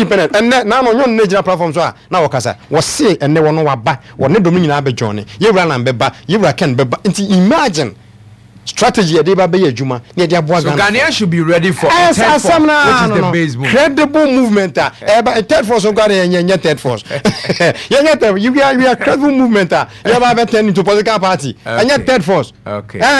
Independent ɛnɛ naano nyɛ ɔno na egyina platform so a na ɔkasa. Wɔse ɛnɛ wɔno waba, wɔne dɔm no nyinaa bɛ joine. Yɛwura Alan bɛba, yɛwura Ken bɛba. Nti imagine strategy yɛde ba bɛyɛ adwuma na yɛde aboa So Ghanafoɔ. Ghanaians should be ready for a Ɛs third force, asɛm no which ara is no the no. base movement. Credible movement a ɛba eh, third force nkoa de yɛnyɛ nyɛ third force. Yɛnyɛ third we are credible movement a yɛba bɛ turn into political party. Ɛnyɛ third force. Eh,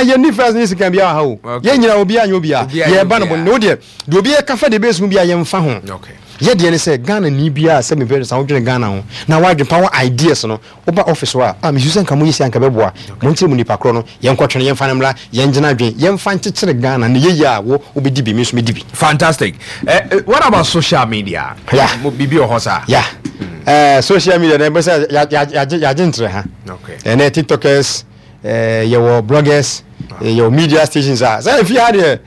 yɛnni first ne second biara wɔ ha o. Okay. Yɛn nyinaa obiara nyɛ obiara. Obiara nyɛ Yɛba no bɔ obiara. ne wo deɛ deɛ obiara ka fa de base ho biara yɛmfa ho. Okay. Yɛ deɛ ne sɛ Ghana ni biara sɛ mepɛ sɛ wodwene Ghana ho na wadwene pa wɔ ideas no woba office hɔ a ah mesu sɛ nka moyɛ sei anka bɛboa. Monkyerɛ mu nipa korɔ no yɛnkɔtwe no yɛmfa no mmra yɛngyina adwene yɛmfa nkyekyere Ghana na ɛyɛ yie a wo wobɛdi bi me nso mɛdi bi. Fantastic. What about social media? Yeah. Mo bibi wɔ hɔ saa? Yeah. Social media na ɛbɛ sɛ yɛagye ntere ha. Okay. Ɛnɛ TikTokers, yɛwɔ bloggers, yɛwɔ media stations a sɛ efi ha deɛ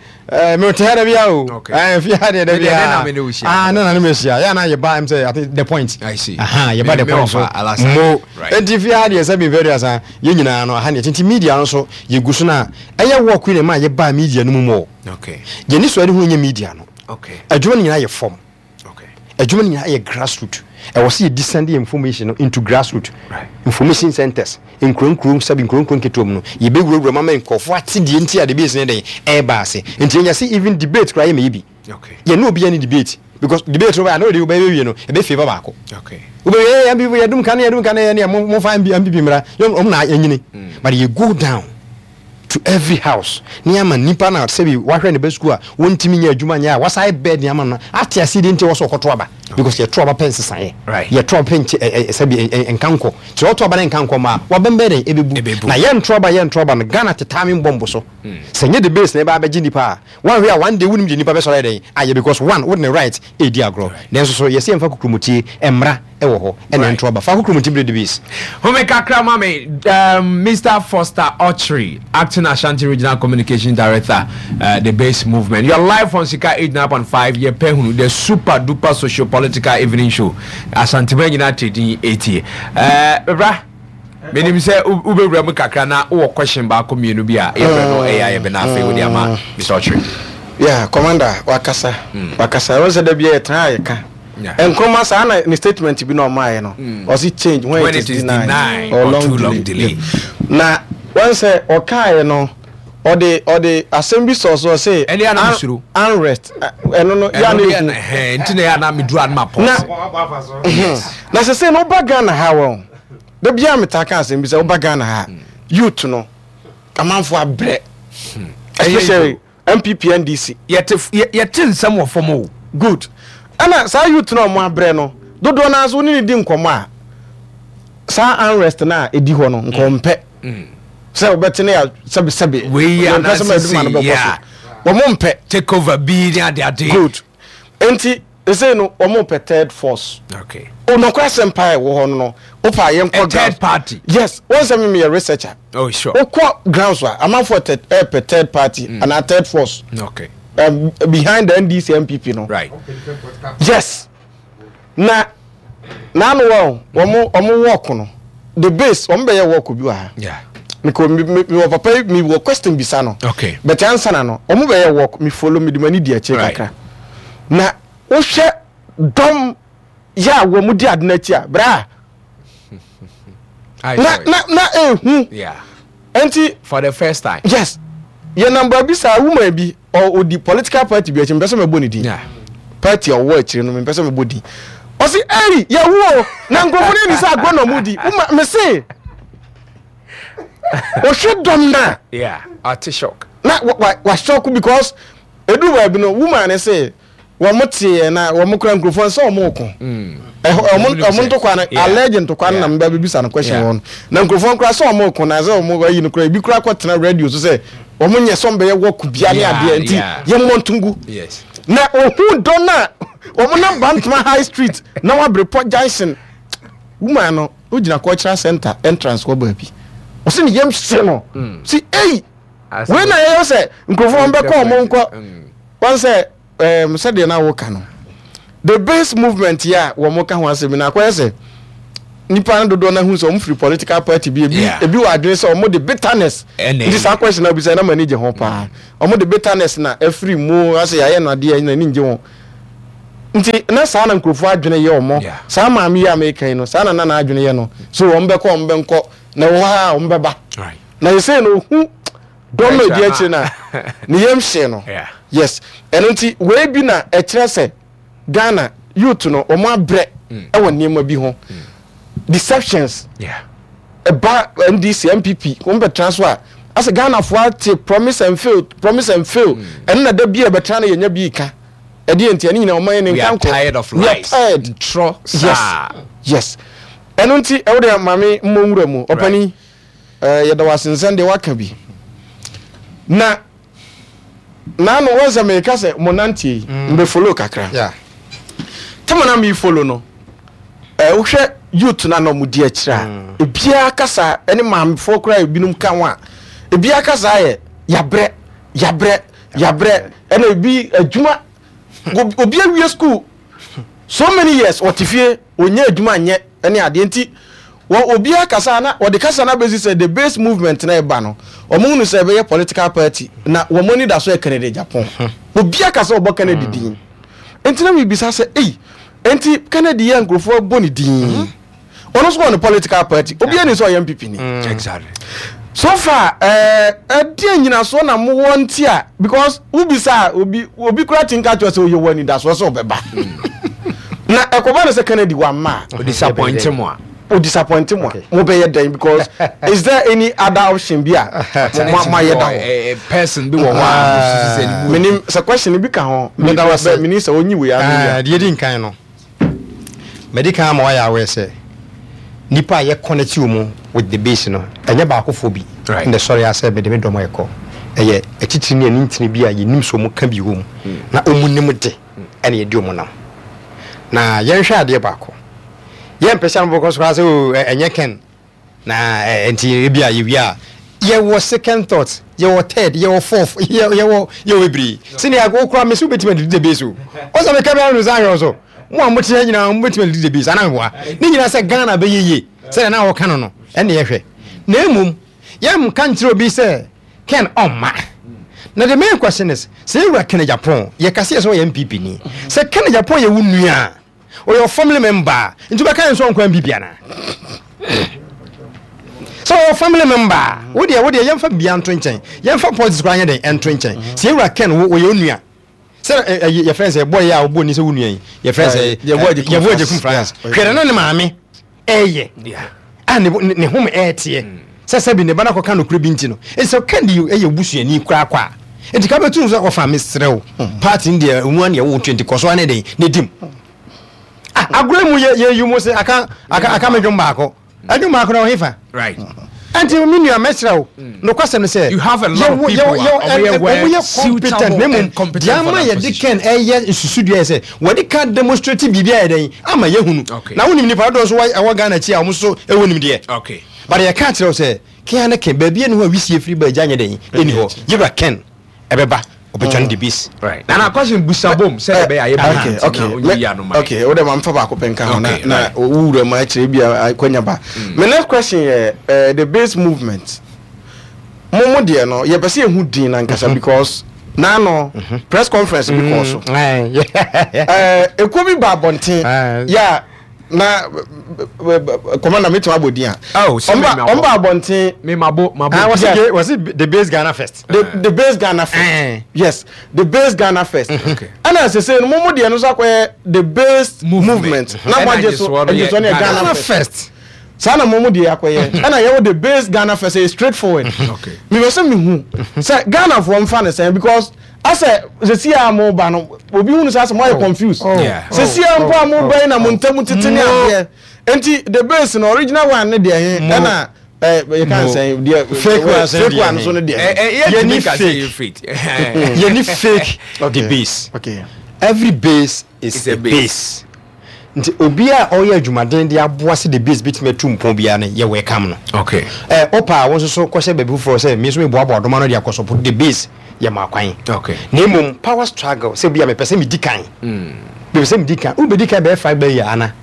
mete ha da bia o. Okay. Efi ha deɛ da Me deɛ, bia. ne na me ne wo hyia. Ah, ne na ne me hyia. Yɛ na yɛba ɛm sɛ I think the point. I see. Aha, yɛba the Me point so. wɔfa Alasa. Mo. Right. Enti fi ha deɛ sɛ bi very asa yɛn nyinaa no aha ne nti media no so yɛgu so na ɛyɛ work yi na ɛma yɛbaa media no mu mɔ. Okay. Yɛn ni so ɛde ho nyɛ media no. Okay. Adwuma no nyinaa yɛ fam. Okay. Adwuma no nyinaa yɛ grassroot. Ɛwɔ sɛ yɛ descend yɛ information no into grassroot. Right. Information centers, nkuro nkuro sɛbi nkuro nkuro nketewa mu no, yɛbɛwurawura mu ama nkurɔfoɔ ate deɛ nti a debate no dɛn ɛreba ase. Nti yɛnya sɛ even debate koraa yɛmɛyɛ bi. Okay. Yɛne obiara ne debate because debate no bɛyɛ a na ɔde wobɛyɛ wie no ɛbɛ favour baako. Okay. Wobɛyɛ yɛ MPP yɛdum kane yɛdum kane yɛ ne mo fa MPP mmra yɛn ɔmo na yɛnyini. But yɛ go down to every house ne ama nipa na sɛbi wahwɛ ne ba sukuu a wɔntumi nyɛ adwuma nyɛ a wasan bɛɛ de ama no ate ase deɛ nti wɔ sɛ ɔkɔto aba because yɛto aba pɛ nsesaeɛ Right. yɛto aba pɛ nkyɛ ɛ ɛ sɛbi ɛ ɛ nka nkɔ nti ɔto aba ne nka nkɔ ma a wabɛn bɛyɛ dɛn Ɛbɛbu. ɛbɛbu na yɛnto aba yɛnto aba no Ghana tetaa me mbɔ mbo so sɛ nyɛ the base na ɛbɛ abɛgye nipa a wanhwɛ a one day wonim deɛ nipa bɛsɔre ayɛ dɛn ayɛ because one wode ne right ɛredi agorɔ nanso so yɛsɛ yɛmfa kokromoti mmra ɛwɔ hɔ ɛna ɛnto aba fa kokromoti bere the base. Home kakra ma me, Mr. Foster Ochri, Acting Ashanti Regional Communication Director, the Base Movement. You are live on Sika 89.5, Yɛpɛ Hunu, the super duper socio political evening show. Asantema nyinaa te din etie. Bra, menim sɛ wobɛwura mu kakra na wowɔ question baako mmienu bi a yɛbrɛ no ɛyɛ a yɛbɛ na afei wode ama Mr. Ochri. Yeah, commander, wakasa. Wakasa. Wɔn sɛ da bi yɛtena a yɛka. Nkrumah saa na ne statement bi na ɔmaayɛ no. Ɔsi change when, it is denied, or long too long delay. Na wɔn sɛ ɔkaayɛ no ɔde ɔde asɛm bi sɔ so ɔse Ɛne ana mesuro. unrest ɛno no yɛ Ɛno ana deɛ ehu. ɛhɛn, nti na ɛyɛ a na meduru a na ma Na pause. na sɛ sɛ no woba Ghana ha wɔn da biara metaa ka asɛm bi sɛ woba Ghana ha youth no amanfo abrɛ especially NPP NDC. Yɛte yɛte nsɛm wɔ fam o. Good. Ɛna saa youth no a wɔn abrɛ no dodoɔ no ara nso wo ne no di nkɔmmɔ a saa unrest no a ɛdi hɔ no nka ɔmpɛ sɛ wɔbɛte ne yɛ sɛbesɛbe Wei yɛ yɛmpɛ sɛ anaasɛ adwuma no sei bɛkɔ yɛ so a. wɔn mpɛ. Take over bi ne ade ade. Good. Nti ɛsei no wɔn pɛ third force. Okay. Onɔkora asɛm paa ɛwɔ hɔ no no wopa yɛnkɔ A third grounds. party. Yes, wɔn sɛ me meyɛ researcher. Oh sure. Wokɔ grounds a amanfoɔ tɛ ɛpɛ third party mm. anaa third force. Okay. Behind the NDC NPP no. Right. Yes. Na n'ano wɔ wɔn wɔn work no the base wɔn bɛyɛ work bi wɔ ha. Yeah. Mekɔ mi mi wɔ papa yi mi wɔ question bisa no. Okay. But ansa na no wɔn bɛyɛ work mi follow mi di ma ni di akyire Right. kakra. Na wohwɛ dɔm yɛ a wɔn di ade n'akyi a bra. Na na na ehu. Yeah. Nti. For the first time. Yes. Yɛ nam baabi saa woman bi ɔdi political party bi akyi mpɛ sɛ mɛbɔ ne din. Yeah. Party a ɔwɔ akyire no mepɛ sɛ mebɔ din. Ɔsi ɛyi yɛwu o na nkurɔfoɔ no ani sɛ agorɔ na ɔmo di. Woma mese ɔhwɛ dɔm na. Yeah. Ɔte shock. Na wa wa wa shock because edu baabi no woman ne se wɔn teɛ na wɔn kura nkurɔfoɔ nsɛ wɔn reko ɛhɔ wɔn wɔn ntokwa no allege ntokwa no na mbɛ bibisa no question wɔn na nkurɔfoɔ nkura sɛ wɔn reko na sɛ wɔn ayi no kura ebi kura kɔ tena radio so sɛ wɔn nyɛ sɛ wɔn bɛyɛ wɔko bia ne adeɛ nti yɛn mmɔ ntungu na ohun dɔn na wɔn nam Bantama High Street na wɔabrepɔ junction woman no ogyina cultural center entrance hɔ baabi ɔsɛ ne yam hye no si eyi wei na yɛyɛ sɛ nkurɔfoɔ wɔn bɛkɔ wɔn nkɔ wɔn sɛ ɛɛm sɛdeɛ na woka no the base movement yi a wɔn ka ho asɛm na akɔyɛ sɛ nipa no dodoɔ no ahu sɛ wɔn firi political party bi ebi ebi wɔ adwene sɛ wɔn de bitterness nti saa question na bisa na ma ani gye ho paa wɔn de bitterness na afiri mu asɛ yɛayɛ no adeɛ na ani ngye ho. Nti na saa na nkurɔfoɔ adwene yɛ wɔn. Saa maame yi a meka yi no, saa na na n'adwene yɛ no. So wɔn bɛkɔ, wɔn bɛnkɔ, na ɛwɔ hɔ a wɔn bɛba. Na yɛsei no, ohu dɔm no edi akyire no a, ne yam hyee no. Yes. Ɛno nti, wei bi na ɛkyerɛ sɛ Ghana youth no, wɔn abrɛ mm. ɛwɔ nneɛma bi ho. Mm. Deceptions. Ɛba NDC, NPP, wɔn bɛtena so a, asɛ Ghanafoɔ ate promise and fail, promise and fail. Mm. Ɛno na da bi a ɛbɛtena no yɛnya bi ka. Ɛdeɛ nti ɛne nyinaa ɔman yɛ ne nka nkɔ. We are tired of We are lies. tired. Ntorɔ Yes. saa. Yes. Ɛno nti ɛwo deɛ maame mmɔ nwura mu. Ɔpani ɛɛ yɛda wo ase nsɛm deɛ waka bi. Na naano wɔn sɛ meka sɛ mo nanteɛ yi mbɛ follow kakra. Yeah. Tama na mi follow no ɛɛ wohwɛ youth na na ɔmo di akyire a ebiara kasa ɛne maamefoɔ koraa ebinom ka ho a ebiara kasa yɛ yabrɛ yabrɛ Yabrɛ ɛna ebi adwuma obi awie school so many years ɔte fie ɔnyɛ adwuma nyɛ ɛne adeɛ nti wɔ obi akasa na wɔde kasa na bɛsi sɛ the base movement na ɛba no wɔn hunu sɛ ɛbɛyɛ political party na wɔn ani da so yɛ Kennedy Agyapong obi akasa ɔbɔ Kennedy din nti na mebisa sɛ ei nti Kennedy yɛ nkurɔfoɔ bɔ ne din ɔno nso wɔ ne political party obi ani sɛ ɔyɛ npp ni mm. exactly so far ɛɛ ɛdeɛ nyinasoɔ na mowɔ nti a because wobisa a obi obi kura ti nka kyerɛ sɛ oyɛ wɔ anidasoɔ sɛ ɔbɛba na ɛkɔba no sɛ Kennedy wamma a odisappoint mo a o disappoint mo a mo bɛyɛ dɛn because is there any other option bi a mo mo ayɛ da hɔ person bi wɔ hɔ a mo susu sɛ ne mu menim sɛ question bi ka ho menim sɛ onyi wei ano deɛ di nkan no Madi kan ama woayɛ aware sɛ nnipa a yɛ connect wɔn with the base no, ɛnyɛ baakofoɔ bi na ɛsɔre ara sɛ mede me dɔm rekɔ. Ɛyɛ atitire ne anintini bi a yɛnim sɛ wɔka bi wɔ mu na wɔnim de ɛna yɛde wɔn nam. Na yɛnhwɛ adeɛ baako. Yɛmpɛ sɛ anobɔkɔ so koraa sɛ oh, ɛnyɛ Ken. Na nti ebi a yɛwie a yɛwɔ second thought, yɛwɔ third, yɛwɔ fourth, yɛwɔ yɛwɔ bebree. Sɛnea wo koraa mesi wobɛtumi adidi the base o. Ɔsɛ meka bia no sɛ ahwɛ so. Mo a mote ha nyinaa mobɛtumi adidi the base anaa meboa. Ne nyinaa sɛ Ghana bɛyɛ yie sɛdeɛ na wɔka no no ɛne yɛhwɛ. Na mmom yɛnka nkyerɛ obi sɛ Ken ɔmma. Na the main question is sɛ yɛwura Ken Agyapong yɛka sɛ yɛ sɛ ɔyɛ NPP ni. Sɛ Ken Agyapong yɛ wo nua a Ɔyɛ ɔ family member a, nti wobɛka yɛn sɛ ɔnkɔ MPP anaa? Sɛ ɔyɛ family member a, wo deɛ wo deɛ yɛmfa biribiara nto nkyɛn. Yɛmfa politics koraa nyɛ dɛn ɛnto nkyɛn. Sɛ yɛwura Ken wo ɔyɛ onua. Sɛ ɛ yɛfrɛ sɛ boy a ɔbɔ ni sɛ wo nua yi, yɛfrɛ sɛ Yɛboa Agyekum Francis. Hwɛ dɛ na ne maame ɛyɛ a ne ne home ɛɛteɛ sɛ sɛbi ne ba no akɔka nokorɛ bi nti no ɛsɛ ɔka di ɛyɛ obusuani koraa kɔ a nti ka bɛtu sɛ ɔfa mesrɛ wo party no deɛ ɔmu aneɛ wo 20 kɔ so ane den ne dim ah agorɔ mu yɛ yɛ yi mu sɛ aka aka aka me dwom baako ɛdwom baako na ɔhefa right ɛnti me nua mɛsrɛ wo nokwasɛm ne sɛ You have a lot of people a ɔmo yɛ well ɔmo yɛ competent suitable na mmom and competent deɛ for ama that yɛde position. Ken ɛyɛ nsusudua yɛ sɛ wɔde ka demonstrate biribi ayɛ dɛn ama yɛhunu Okay. na wonim nipa dodoɔ nso wɔ- ɛwɔ Ghana akyi a wɔn nso ɛwɔ nimdeɛ Okay. but yɛka kyerɛ wo sɛ Ken ne Ken baabi ɛni hɔ a wisie firi ba agya nyɛ dɛn ɛni hɔ yɛwura Ken ɛbɛba ɔbɛtwa no de bis Right. Nana question busa bom sɛ ɛbɛyɛ ayɛ okay bi okay na onyi ya no ma. okay wo de ma mfa baako pɛ nka ho na Okay, na right. wo wura mu akyerɛ bi a akwanya ba my next question yɛ eh, the base movement mo mo deɛ no yɛpɛ sɛ yɛhu din nankasa because naano press conference bi kɔɔ so Eh, ekuo bi ba abɔnten yɛ a na commander metumi abɔ din a Oh, sɛ me ma ɔmo ba abɔnten Me mabo mabo. Ah, wɔsi wɔsi the base Ghana first. The base Ghana first. Eh. Yes, the base Ghana first. Okay. Ɛna sese no mo mo deɛ no nso akɔyɛ the base Movement. movement. Na mo Ɛna agye so agyesoɔ no agye yɛ so no yɛ Ghana Ghana Ghana first. first. Saa na mo mo deɛ akɔyɛ. Ɛna yɛwɔ the base Ghana first ɛyɛ straight forward. Okay. Mepɛ sɛ mehu sɛ Ghana foɔ mfa ne sɛn because asɛ sisi a mo ba no obi hunu sɛ asɛ mo ayɛ confused. Yeah. Sisi a mpo a mo ba yi na mo ntam tete ne adeɛ. Nti the base no original one ne deɛ he ɛna ɛ yɛ kan sɛn deɛ Fake one sɛn fake deɛ one he. so ne deɛ. Eh, eh, Yɛni yɛntumi nka sɛ fake. yɛ fake. Yɛni fake Okay. the base. Okay. Every base is It's a a base. base. Nti obi a ɔyɛ adwumaden de aboa sɛ the base bɛtumi atu mpɔn biara no yɛ welcome no. Okay. Ɛ ɔpa a wo nso so kɔhyɛ baabi foforɔ sɛ me nso meboaboa dɔm ano de akɔ support the base yɛ ma kwan. Okay. Na mmom power struggle sɛ bi a mepɛ sɛ medi kan. Mepɛ sɛ medi kan. Wobɛdi kan bɛyɛ five bɛyɛ ana?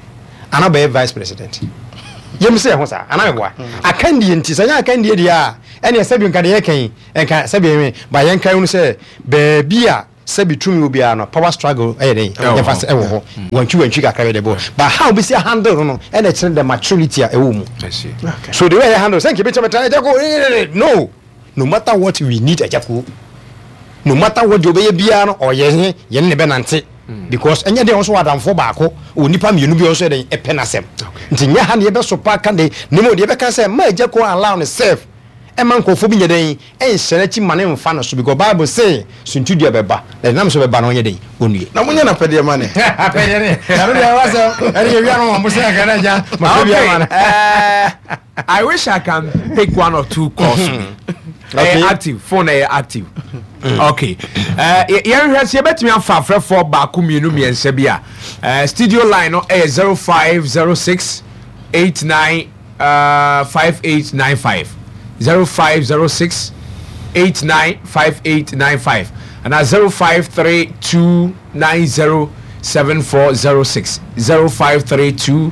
Ana bɛyɛ vice president? Yɛm sɛ ɛho saa ana meboa? Akandie nti sɛ nyɛ akandie deɛ a ɛneɛ sɛbi nka deɛ yɛka yi nka sɛbi ɛnwe ba yɛnka hunu sɛ baabi a. sɛbi tumi wɔ biara no, power struggle ɛyɛ dɛn? Ɛwɔ Yɛmfa hɔ. sɛ ɛwɔ hɔ. Wantwi wantwi kakra bi de bɔ. But how bɛsi handle no no, ɛna ɛkyerɛ the maturity a ɛwɔ mu. I see. So the way I handle, sɛ nka ebɛtumi bɛtena Agya Koo, eh, no. No matter what we need Agya Koo. No matter what deɛ ɔbɛyɛ biara no, ɔyɛ he, yɛne ne bɛnante. Because ɛnyɛ deɛ ɔnso wɔ adamfoɔ baako, wɔ nipa mmienu bi ɔnso yɛ dɛn, ɛpɛ n'asɛm. Nti nyɛ ha na yɛbɛsopa ka de, na mmom deɛ yɛbɛka sɛ, ma Agya Koo allow ne self, ɛma nkurɔfoɔ bi nyɛ dɛn, ɛnhyɛ n'akyi ma ne mfa no so, because Bible se, suntidua bɛba, na deɛ nam so bɛba no ɔnyɛ dɛn, ɔnnue. Na monyɛ n'apɛdeɛ ma ne. Apɛdeɛ ne, ɛno deɛ ɛwɔ sɛ, ɛne yɛwia no wɔn bo sɛ ɛka no agya, ma fɛ bi ama no. Okay, I wish I can pick one or two calls. Okay. Active phone ɛyɛ active. Okay. Yɛn hwɛ sɛ yɛbɛtumi afa afrɛfoɔ baako mmienu mmiɛnsa bi a studio line no ɛyɛ 0506 89 5895 0506 89 5895 ana 0532 90 7406 0532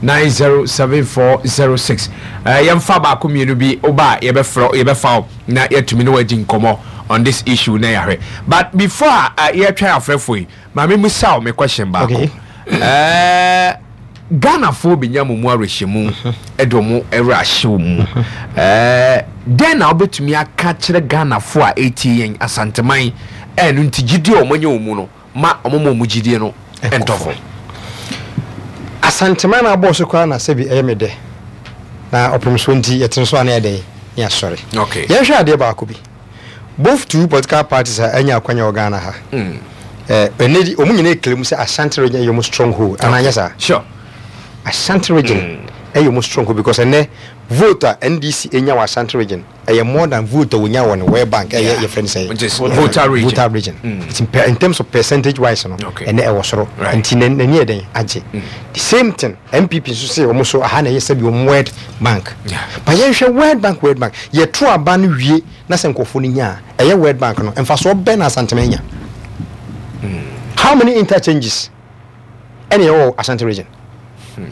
907406. Yɛmfa baako mmienu bi woba a yɛbɛfrɛ, yɛbɛfa wo na yɛatumi ne wagyi nkɔmmɔ on this issue na yɛahwɛ. But before a yɛtwɛn afrɛfoɔ yi, maame musa wo me question baako. Okay. Ghanafoɔ bɛnya mo mu awerɛhyɛmu de ɔmo werɛ ahyɛ wo mu. Dɛn na wobɛtumi aka kyerɛ Ghanafoɔ a ɛtie yɛn Asanteman ɛno nti gyidie a ɔmo anya wɔ mu no ma ɔmo ma ɔmo gyidie no ɛntɔ fam? Asanteman na abɔɔ so koraa na sɛbi ɛyɛ me dɛ na ɔpem so nti yɛtene so a na yɛ dɛn ne asɔre. Okay. Yɛnhwɛ adeɛ baako bi. Both two political parties a anya akwanya wɔ Ghana ha. Ɛnɛ di wɔn nyinaa claim sɛ Ashanti region ɛyɛ wɔn stronghold. Anaa nyɛ saa? Sure. Ashanti region ɛyɛ wɔn stronghold because ɛnɛ vote a NDC enya wɔ Ashanti region ɛyɛ more than vote a wonya wɔ ne World Bank ɛyɛ yɛfrɛ no sɛ Which is Volta region. Volta region. Nti in terms of percentage wise no ɛnɛ ɛwɔ soro. Nti n'ani yɛ dɛn agye. The same thing NPP nso sɛ wɔn so aha na ɛyɛ sɛbi wɔn World Bank. But yɛnhwɛ World Bank, World Bank yɛto aba no wie na sɛ nkurɔfoɔ no nya a, ɛyɛ World Bank no mfasoɔ bɛn na Asantema anya? How many interchanges ɛna ɛwɔ wɔ Ashanti region?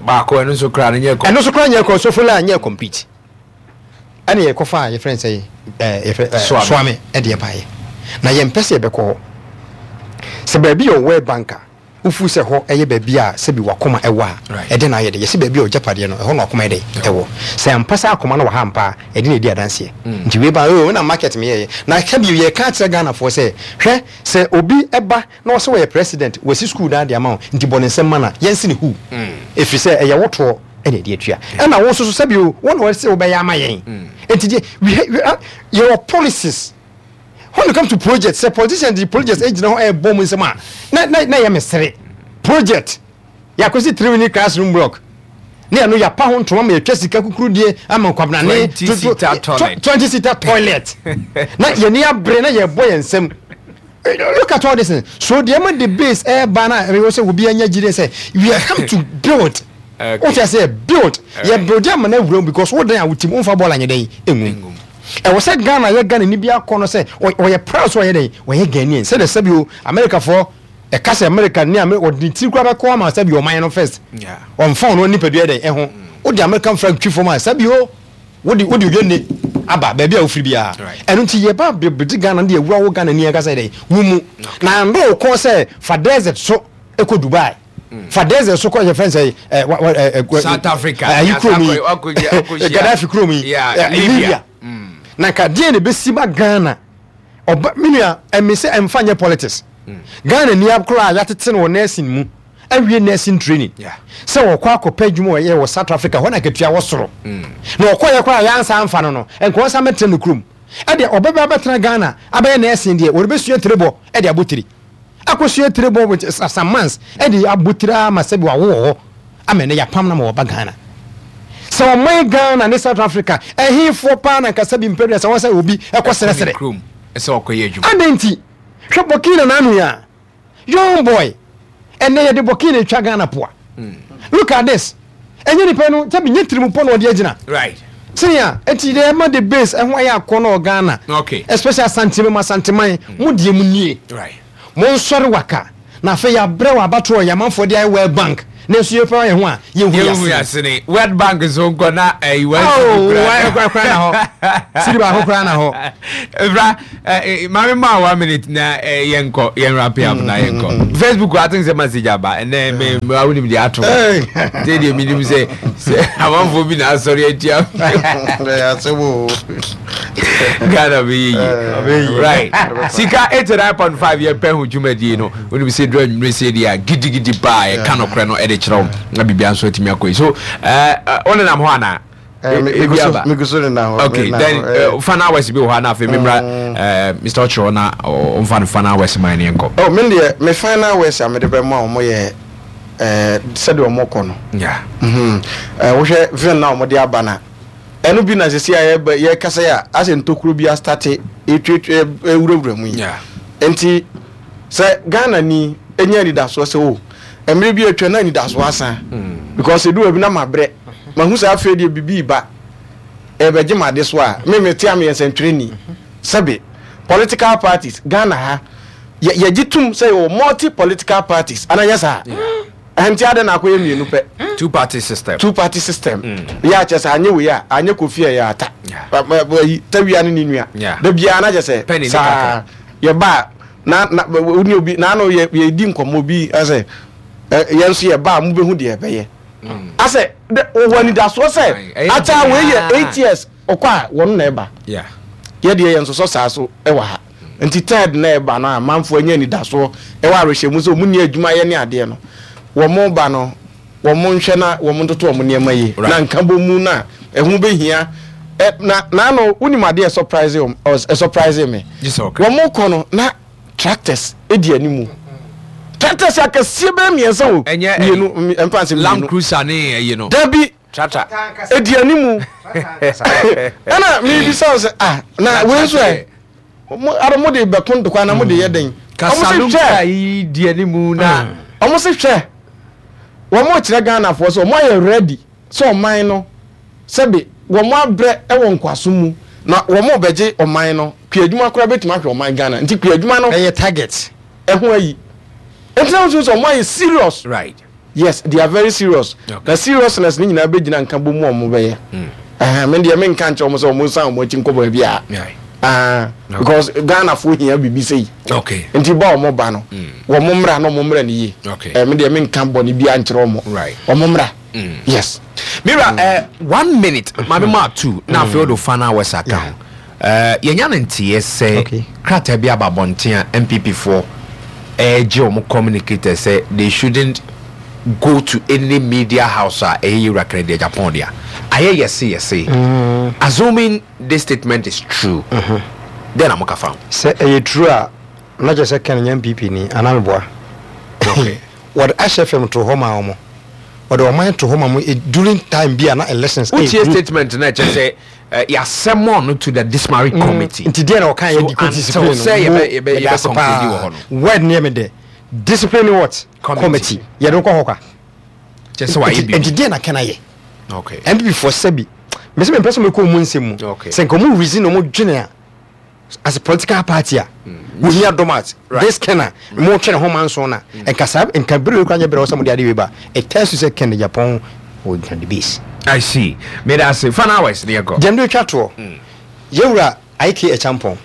Baako ɛno nso koraa no nyɛ kɔ. Ɛno nso koraa nyɛ kɔ, Sofola nyɛ complete. Ɛna yɛkɔfa a yɛfrɛ no sɛ ɛɛ yɛfrɛ ɛɛ Soame ɛde ɛbaeɛ. Na yɛmpɛ sɛ yɛbɛkɔ hɔ. Sɛ baabi yɛ World Bank a, Wofu sɛ hɔ yɛ baabi a sɛbi w'akoma wɔ a, ɛdɛn na ayɛ dɛ? Yɛse baabi a w'agyapadeɛ no, ɛhɔ na w'akoma yɛ dɛn? Ɛwɔ. Sɛ ampa sɛ akoma no wɔ ha ampa a, ɛde na ɛdi adanseɛ. Nti wei ba, oh, na market meyɛeɛ. Na ka bio, yɛreka akyerɛ Ghanafoɔ sɛ, hwɛ, sɛ obi ba na ɔse ɔyɛ president, wasi sukuu dan de ama wo, nti bɔ ne nsam ma no a, yɛnse no huu. Ɛfiri sɛ ɛyɛ wo toɔ na ɛde atua. Ɛna wo nso so, sɛbi o, wo na wɔse wobɛyɛ ama yɛn. Nti deɛ, we, we, yɛwɔ policies. When it comes to project, sɛ politicians de project gyina hɔ ɛbɔ mu nsɛm a, na na na yɛ mesere. Project yɛakɔsi 3 minute classroom block ne ɛno yɛapa ho ntoma ma yɛtwa sika kukuru die ama nkwabenane 20 seater toilet. 20 seater toilet na yɛni abere na yɛbɔ yɛn nsam. Look at all this thing. So deɛ ma the base ɛɛba na ɛwɔ sɛ obi anya gyidie sɛ we are come to build. Wote aseɛ, build yɛ build ama no awura mu because wo dan a wotim womfa bɔɔl anyɛ dɛn engu. Ɛwɔ sɛ Ghana yɛ Ghana ni bi akɔ no sɛ ɔyɛ proud sɛ ɔyɛ dɛn ɔyɛ Ghanaian sɛdeɛ sɛbi o Americafoɔ ɛka sɛ America ne America ɔde ne tiri koraa bɛkɔ ama sɛbi ɔman no first ɔmfa ɔno nipadua dɛn ɛho wode American flag twi fam a sɛbi o wode wode odwanne aba baabi a wofiri biara ɛno nti yɛba bɛgye Ghana no de awura wo Ghana ni ankasa dɛn wo mu na andɔ wo kɔn sɛ fa desert so ɛkɔ Dubai fa desert so kɔ yɛfrɛ sɛ ɛ wa wa ɛ ɛ South Africa ayi kurom yi Gaddafi kurom yi Libya na nka deɛ na ebesi ma Ghana ɔba me nua ɛmi sɛ ɛnfa nyɛ politics Ghana ni akora a yɛatete no wɔ nursing mu awie nursing training sɛ wɔkɔ akɔpɛ adwuma wɔyɛ wɔ South Africa hɔ na akatua wɔ soro na ɔkɔ yɛ koraa yɛansa amfa no no nka ɔnsa mɛtena ne kurom ɛdeɛ ɔbɛba abɛtena Ghana abɛyɛ nursing deɛ wɔrebɛsua tire bɔ ɛde abɔ tiri akɔsua tire bɔ with some months ɛde abɔ tire ama sɛbi wawo wɔ hɔ ama ɛnɛ yɛapam no ma wɔba Ghana. Sɛ ɔman Ghana ne South Africa ɛhefoɔ paa na nka sɛbi mpɛ sɛ wɔn sɛ obi ɛkɔ srɛsrɛ kurom sɛ ɔkɔyɛ adwuma. Adɛn nti? Hwɛ Burkina n'ano yi a young boy ɛnɛ yɛde Burkina atwa Ghana poa. Look at this. Ɛnyɛ nipa no sɛbi nye tirimu pɔ na ɔde agyina. Sɛnea eti deɛ ɛma the base ɛho ayɛ akɔ na Ghana. Especially Asante mu Asanteman mo deɛ mu nie. Mo nsɔre waka na afei yɛabrɛ wɔ abatoɔ yɛ amanfoɔ de ayɛ World Bank. Nanso yɛpɛ yɛn ho a yɛnhu yɛn asene. World Bank nso nkɔ na ɛyi wɔn cedi kura. Kura na hɔ. Cedi baako kura na hɔ. Ebra maame maa one minute na yɛn kɔ yɛn wrap up na yɛn kɔ. Facebook I think sɛ message aba ɛnɛ me me awo nim deɛ ato. Sɛ deɛ mi nim sɛ sɛ amanfoɔ bi na asɔre atia. Ghana bɛ yɛ yie. Right. Sika 89.5 yɛ pɛ ho dwumadie no. Wonim sɛ duru anwummere sei deɛ a gidigidi paa yɛka nokorɛ no de kyerɛ wo na biribia nso atumi akɔ yi so wonenam hɔ anaa? Ebi aba. Megu so nenam hɔ. Okay, then final words bi wɔ hɔ a na afei memmra Mr. Ɔkyerɛ na ɔmfa no final words ma ne yɛnkɔ. Oh, me deɛ me final words a mede bɛma wɔn yɛ sɛdeɛ wɔn kɔ no. Yeah. Wohwɛ vim na wɔde aba na ɛno bi na sisi a yɛbɛ yɛkasa yi a asɛ ntokuro bi astate etuatua ewurawura mu yi. Yeah. Nti Sɛ Ghana ni nya anidasoɔ sɛ oh mmerɛ bi atwa na anidasoɔ asa because ɛdu baabi na mabrɛ mahu sɛ afei deɛ biribi reba ɛrebɛgye m'ade so a me mete a meyɛ nsɛntwerɛni sɛbe political parties Ghana ha yɛ yɛgye tom sɛ yɛwɔ multi political parties anaa nyɛ saa ɛnti adɛn na akɔyɛ mmienu pɛ two party system two party system yɛ akyɛ sɛ anyɛ wei a anyɛ Kofi a ɛyɛ ata tawia ne ne nua da biara na kyɛ sɛ saa yɛba a na na wo ne obi na ano yɛ yɛdi nkɔmmɔ obi asɛ yɛn nso yɛba a mobɛhu deɛ ɛbɛyɛ mm. asɛ wɔwɔ anidasoɔ sɛ ata wei yɛ 8 years ɔkɔ a wɔn na ɛba yɛdeɛ yɛn nsosɔ saa so ɛwɔ ha nti third na ɛba no a amanfoɔ anya anidasoɔ ɛwɔ awerɛhyɛmu sɛ wɔn ni adwuma yɛ ne adeɛ no wɔn ba no wɔn nhwɛ na wɔn ntoto wɔn nneɛma yie na nkabɔ mu na ɛho bɛhia ɛ na n'ano wonim adeɛ surprise wɔn surprise me wɔn kɔ no na tractors edi animu tractors akɛseɛ bɛyɛ mmiɛnsa o mmienu mfa nsɛ mmienu land cruiser ne ɛyi no dabi tractor edi animu ɛna mebisa sɛ ah na wei nso ɛ Mo ara mo de bɛko ntɔkwa na mo de yɛ dɛn? Wɔn se hwɛ. Yi di anim na. Wɔn se hwɛ. Wɔn kyerɛ Ghanafoɔ sɛ wɔn ayɛ ready sɛ ɔman no sɛbe wɔn abrɛ wɔ nkoasom mu na wɔn rebɛgye ɔman no. Kuadwuma koraa bɛtumi ahwɛ ɔman Ghana nti kuadwuma no. Ɛyɛ target. Ɛho ayi. Nti na wosu sɛ wɔn ayɛ serious. Right. Yes, they are very serious. Okay. Na seriousness ne nyinaa bɛgyina nka bɔ mu a wɔn bɛyɛ. Ɛhɛn, me deɛ menka nkyerɛ wɔn sɛ wɔn nsan wɔn akyi nkɔ baabi a. Yeah. Ah, because Ghana fo hia biribi sei. Okay. Nti ba wɔn ba no, wɔn mmra na wɔn mmra ne yie. Okay. Eh, me deɛ menka bɔne biara nkyerɛ wɔn. Right. Wɔn mmra. Yes. Mira, one minute, maame maa two, na afei ɔde final words aka ho. Eh, yɛnya no nteɛ sɛ Okay. krataa bi aba abɔnten a NPP foɔ ɛregye wɔn communicators sɛ they shouldn't go to any media house a ɛyɛ Yewura Kennedy Agyapong dea. Ayɛ yɛse yɛse. Assuming this statement is true, dɛn na moka fa ho? Sɛ ɛyɛ true a, na kyerɛ sɛ Ken nyɛ NPP ni, anaa meboa? Okay. Wɔde Ash FM too hɔ maa wɔn. Wɔde ɔman too hɔ ma wɔn during time bi a na elections Wotie ɛreduru. statement no a ɛkyerɛ sɛ Eh, yɛasɛmɔn no to the disciplinary mm. committee. Nti deɛ na ɔka yɛ di kɔ discipline no. Sɛ yɛbɛ yɛbɛ yɛbɛ conclude wɔ hɔ no. Word ne yɛ me dɛ discipline what committee yɛde kɔ hɔ kwa. Kyɛ sɛ wayɛ bi. Nti deɛ na kɛn ayɛ. Okay. NPP fo sɛbi mɛ sɛ mɛ mpɛ sɛ mɛ kɔ ɔmo nsɛm mu. Okay. Sɛ nka ɔmo reason ɔmo dwene a as a political party a wohia domat this ken a mo twene ho manso na nka saa nka bere wei kora nyɛ bere wɔ sɛ mo de ade wei ba it tells you sɛ ken Japan wɔ the base. I see. Meda ase. Fan hours ne yɛkɔ. Gyamde otwa toɔ. Yɛwura IK Acheampong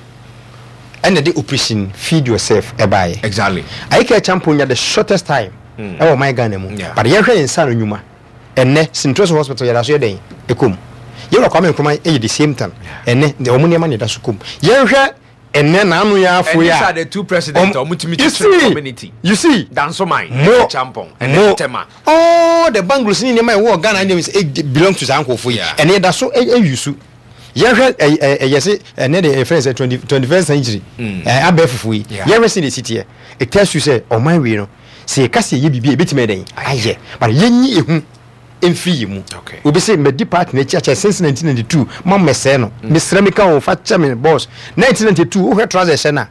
ɛna de operation feed yourself ɛbaeɛ. Exactly. IK Acheampong nya the shortest time ɛwɔ ɔman Ghana mu. But yɛnhwɛ ne nsa ano nnwuma. Ɛnnɛ Sintroso hospital yɛda so yɛ dɛn ɛkɔ mu. Yɛwura Kwame Nkrumah yɛ the same thing. Ɛnnɛ wɔn nneɛma na ɛda so kɔ mu. Yɛnhwɛ ɛnnɛ n'ano yi ara fo yi And these a. are the two presidents a wɔtumi You kyekyere see, community. you see. Dansoman Mo, ɛne Champong ɛne mo, Tema. all the bungalows ne nneɛma a ɛwɔ Ghana ne nneɛma yi belong to saa nkurɔfoɔ yi. Yeah. Ɛnnɛ yɛda so ɛyi su. Yɛnhwɛ ɛ ɛ ɛyɛ se ɛnnɛ deɛ yɛfrɛ no sɛ 21st century ɛ abɛɛfo foɔ yi. Yeah. Yɛnhwɛ sɛdeɛ ɛsi teɛ. It tells you sɛ ɔman wei no sɛ yɛka sɛ yɛyɛ biribi a yɛbɛtumi ayɛ dɛn ayɛ but yɛnyi ehu mfiri yɛn mu. Okay. Obi se madi party no akyi akyɛ since 1992 ma mmɛsɛe no. Mesrɛ meka o fa kyɛ me boss. 1992 wohwɛ trousers hyɛ no a Deɛ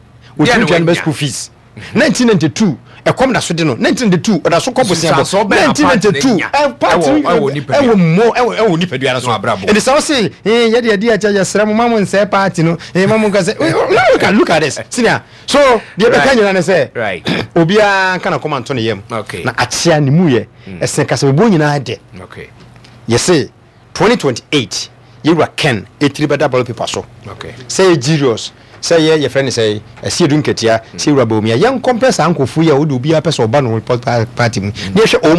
na wɔtumi tua no bɛ wanya. school fees. 1992 Ɛkɔm da so de no. 1992 ɔda so kɔ bosea bɔ. Nsunsuansoɔ bɛn na party no 1992 nya party ɛwɔ ɛwɔ nipadua ɛwɔ mmɔ ɛwɔ ɛwɔ nipadua no so. No abrabɔ. Ɛnti sɛ wose eh yɛde yɛde akyɛ yɛsrɛ mo ma mo nsɛe party no eh ma mo nka sɛ now look at look at this senior. So deɛ bɛka Right. nyina ne sɛ Right. obiara nka n'akoma nto ne yam. Okay. Na akyea ne mu yɛ ɛsen kasabebuo nyinaa dɛ. Okay. Yɛse 2028 yɛwura Ken etiri bɛda ballot paper so. Okay. Sɛ yɛ Julius, sɛ yɛ yɛfrɛ no sɛ Asiedu Nketia, sɛ yɛwura Bawumia, yɛn compare saa nkurɔfoɔ yi a wode obiara pɛ sɛ ɔba no party mu na yɛhwɛ wɔn.